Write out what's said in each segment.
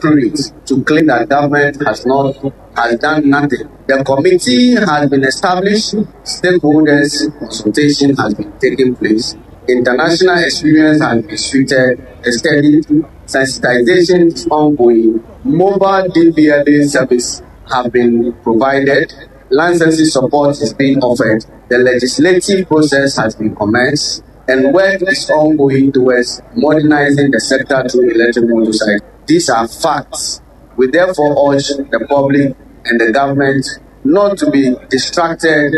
inappropriate to claim that government has not has done nothing. The committee has been established, stakeholders consultation has been taking place, international experience has been suited, studied, sensitization is ongoing, mobile DVLA service have been provided, licensing support is being offered, the legislative process has been commenced, and work is ongoing towards modernizing the sector through electric motorcycles. These are facts. We therefore urge the public and the government not to be distracted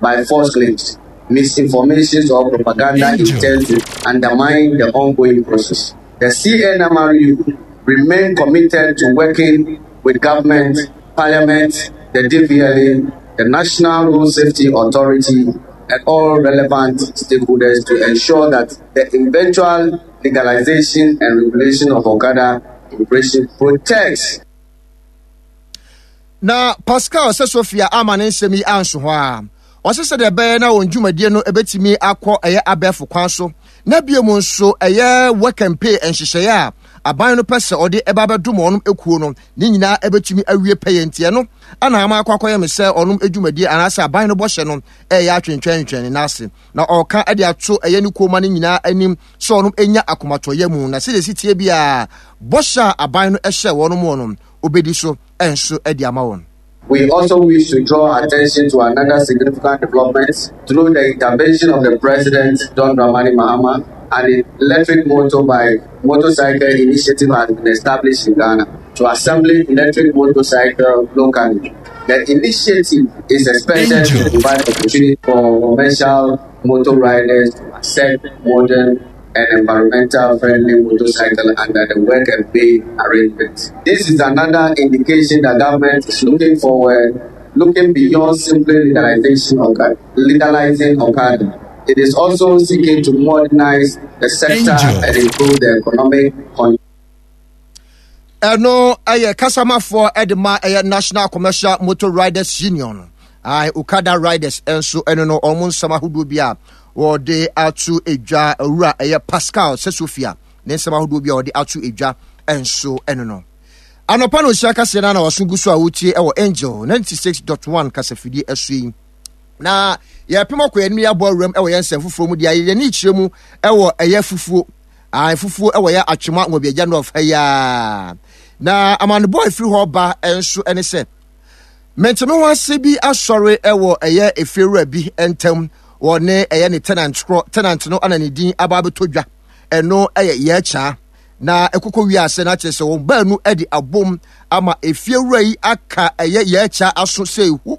by false claims, misinformation, or propaganda intended to undermine the ongoing process. The CNMRU remain committed to working with government, parliament, the DVLA, the National Road Safety Authority, and all relevant stakeholders to ensure that the eventual legalization and regulation of Okada operation protects. Na Pascal sɛ Sophia ama ne nsɛm yi anso hɔ a, ɔsɛ sɛdeɛ ɛbɛyɛ na wɔn dwumadie no ɛbɛtumi akɔ ɛyɛ abɛɛfo kwan so na bio mu nso ɛyɛ work and pay nhyehyɛeɛ a aban no pɛ sɛ ɔde ɛba bɛdom wɔn ekuo no ne nyinaa ɛbɛtumi awie pɛyɛ. Nti ɛno ana ama akɔ akɔyɛ me sɛ ɔnom dwumadie anaasɛ aban no bɔhyɛ no ɛyɛ atwentwɛntwɛn ne n'ase, na ɔreka de ato ɛyɛ ne kuoma no nyinaa anim sɛ ɔnom nya akomatɔyɛ mu na sɛdeɛ ɛsi tie biara bɔhyɛ a aban no hyɛ wɔn mu no obɛdi so nso de ama wɔn. We also wish to draw attention to another significant development through the intervention of the President, John Dramani Mahama. An electric motorbike motorcycle initiative has been established in Ghana to assemble electric motorcycle locally. The initiative is expected to provide opportunity for commercial motor riders to access modern and environmental friendly motorcycle under the work and pay arrangement. This is another indication that government is looking forward, looking beyond simply legalization of legalizing Okada. It is also seeking to modernize the sector Angel. and improve the economic Ɛno ɛyɛ kasamafoɔ de ma ɛyɛ National Commercial Motor Riders Union, Okada Riders nso ɛno no wɔn nsɛm ahodoɔ bi a wɔde ato edwa. Owura ɛyɛ Pascal Sesofia ne nsɛm ahodoɔ bi a wɔde ato edwa nso ɛno no. Anɔpa no nhyia kaseɛ no na wɔso gu so a wotie ɛwɔ Angel 96.1 kasafidie ɛso yi, na yɛpem akɔ yɛn anim, yɛabɔ awuram ɛwɔ yɛn nsɛm foforɔ mu deɛ yɛn ani kyerɛ mu ɛwɔ ɛyɛ fufuo ae fufuo ɛwɔ yɛ Atwema Nwabiagya North ha yi a. Na amanebɔ a ɛfiri hɔ ba nso ɛne sɛ mente me ho ase bi asɔre ɛwɔ ɛyɛ efiewura bi ntam wɔ ne ɛyɛ ne tenant korɔ. Tenant no ana ne din aba abɛtɔ dwa, ɛno ɛyɛ yɛkyaa na ɛkokɔ wie ase na kyerɛ sɛ wɔn baanu de abom ama efiewura yi aka ɛyɛ yɛkyaa aso sɛ ehu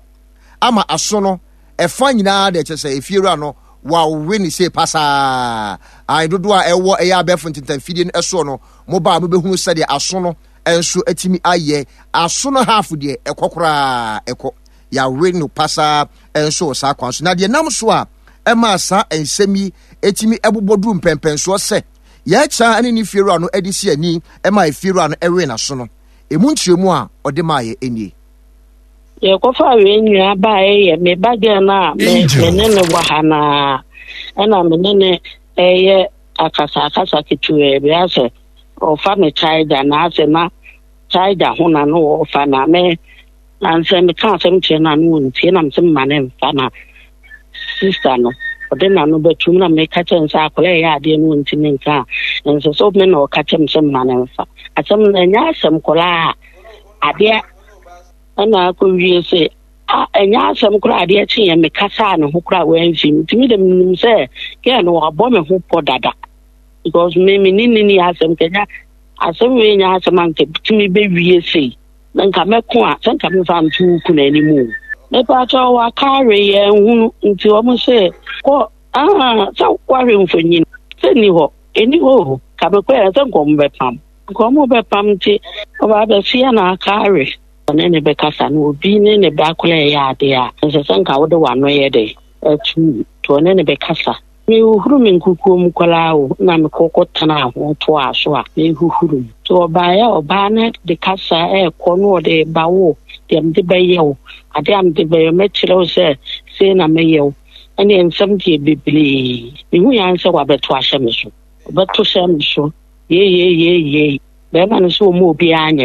ama aso no ɛfa nyinaa deɛ kyerɛ sɛ efiewura no wawe ne sei pasaa. Ae dodoɔ a ɛwɔ ɛyɛ abɛɛfo ntentanfidie no ɛsoɔ no, mo ba a mobɛhunu sɛdeɛ aso no nso atumi ayɛ. Aso no half deɛ ɛkɔ koraa, ɛkɔ yɛawe no pasaa nso wɔ saa kwan so. Na deɛ nam so a ɛmaa saa nsɛm yi ɛtumi ɛbobɔ duru mpɛmpɛnsoɔ sɛ yɛakya ne ne fiewura no de si ani ɛma efiewura no ɛwe n'aso no, ɛmu nkyerɛmu a ɔde maayɛ nie. Yɛkɔfaa wei nyinaa baeɛ yɛ me ba girl no a me me ne no wɔ ha no ara, ɛna me ne no ɛyɛ akasakasa ketewaa bi asɛ ɔfa me charger na asɛ na charger ho na no ɔfa na me ansɛ meka asɛm kyerɛ no a no ɔntie, na mesɛ mma ne mfa na sista no ɔde n'ano bɛtum, na meka kyerɛ no sɛ akwadaa ɛyɛ adeɛ no ɔntumi nka a ɛnsɛ sɛ me na ɔka kyerɛ me sɛ mma ne mfa asɛm no, ɛnyɛ asɛm koraa adeɛ. Ɛna akɔwie sɛ a ɛnyɛ asɛm koraa adeɛ kyeeɛ mekasaa ne ho koraa wamfi mu, nti me de menim sɛ gɛɛ no wabɔ me ho pɔ dada because me me ne ne ni asɛm kanya asɛm wei nyɛ asɛm anka tumi bɛwie sei na nka mɛko a sɛ nka memfa nto wo kunu anim o. Mepakyɛ waka awe yɛn hunu nti wɔn sɛ kɔ ah sɛ wahwɛ mfonyin sɛ ni hɔ ɛni hɔ o ka mekɔ yɛ sɛ nkɔm bɛpam Nka ɔmo bɛpam nti ɔba abɛsoɛ na aka awe. Ɔne no bɛkasa no obi ne ne ba koraa ɛyɛ adeɛ a ɛnsɛ sɛ nka wode w'ano yɛ dɛn ɛto mu nti ɔne no bɛkasa. Mehuhuru me nkukuo mu koraa o na mekɔ kɔ tenaa ho toaa so a mehuhuru mu. Nti ɔbaeɛ a ɔbaa no de kasa ɛɛkɔ na ɔde ba wo deɛ mede bɛyɛ wo adeɛ a mede bɛyɛ wo mɛkyerɛ wo sɛ sei na mɛyɛ wo ɛneɛ nsɛm deɛ bebree. Mehuiɛ ara ne sɛ wabɛto ahyɛ me so. Ɔbɛto hyɛ me so. Yei yei yei yei. Bɛrima no sɛ ɔma obiara nyɛ.